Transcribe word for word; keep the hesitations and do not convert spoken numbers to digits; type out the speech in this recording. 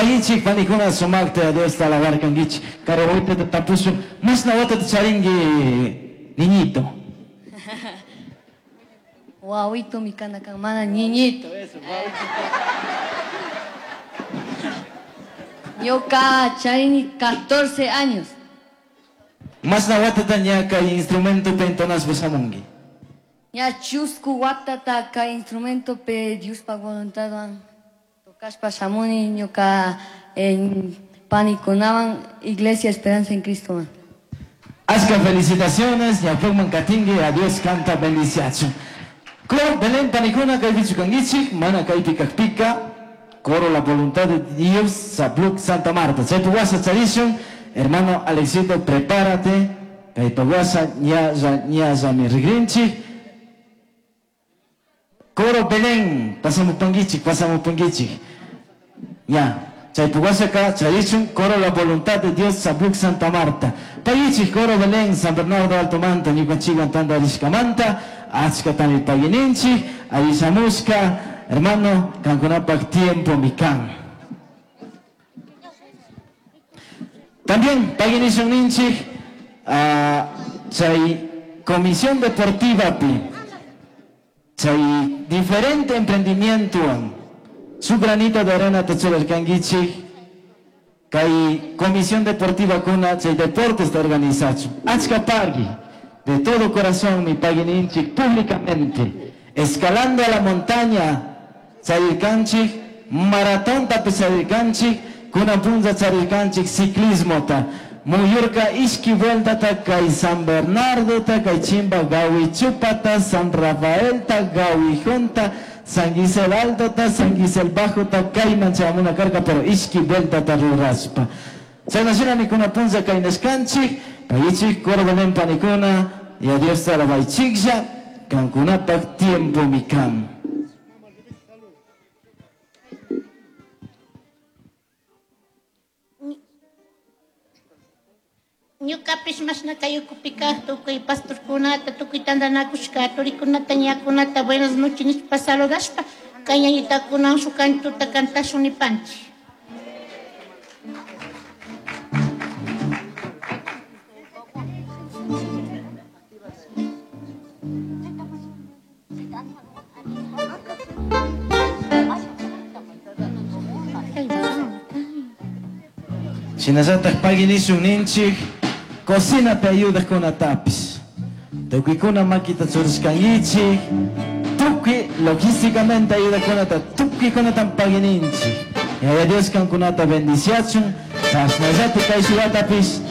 Pagichik panikuna sumaqta Diosta alabarkankichik. Karawaitata tapusun. Mashna watata charinki, niñito. Wawito mi kana kan mana niñito. Ñuka charini catorce años. Mashna watata ña kay instrumento pe entonaspa shamunki. Ña chusku watata kay instrumento pe Diospa voluntadwan tocashpa shamuni ñuka en panikunawan Iglesia Esperanza en Cristo. Achka felicitaciones, ñawpaqman katinki, a Dios canta bendiciachun. Coro Belén panikuna kaypichu kankichik, mana kaypi kaqpika, coro la voluntad de Dios, Sabluk Santa Marta. Chaypi wasa charishun, hermano Alexito, prepárate, kaypa wasa ñalla ñallami rigrinchik. Coro Belén, pasamupankichik, pasamupankichik. Ya, chaypi wasaka charichun, coro la voluntad de Dios, Sabluk Santa Marta. Pagichik, coro Belén, San Bernardo Alto Manta, ñukanchikwan tantarishkamanta, achkatami pagininchik, avishamushka, hermano, kankunapak tiempo mi kan. También paginishun ninchik, ah, chay comisión deportiva pi, chay diferente emprendimiento, su granito de arena tachurarkankichik, kay comisión deportiva kuna chay deportes ta organizachu. Achka pagui, de todo corazón mi pagininchik públicamente, escalando a la montaña, charirkanchik, maratón tapi charirkanchik, kuna punza charirkanchik ciclismo ta. Muyurka ishki vuelta ta kay San Bernardo ta kay Chimba Gawichupata, San Rafael ta Gawijunta, San Gisel Alto ta San Gisel Bajo ta kayman chamuna karka, pero ishki vuelta ta ruraspa. Chayna mikuna punza kay nashkanchik, payichik coro Belén panikuna, y a Dios alabaichiklla, kankunapak tiempo mikan. Ñukapish mashna kayukupika tukuy pastorkunata, tukuy tantanakushka, turikunata, ñakunata, buenas noches nishpa saludashpa, kay ñañitakunan shuk kantuta kantashun nipanchik. Shinallatak paginishun ninchik, cocina te ayuda con atapis. Tukuykuna makita churishkankichik, tukuy logísticamente ayuda con atapis, tukuykunatan pagininchik. Yaya Dios kankunata bendiciachun, chashnallati kay shuwatapis,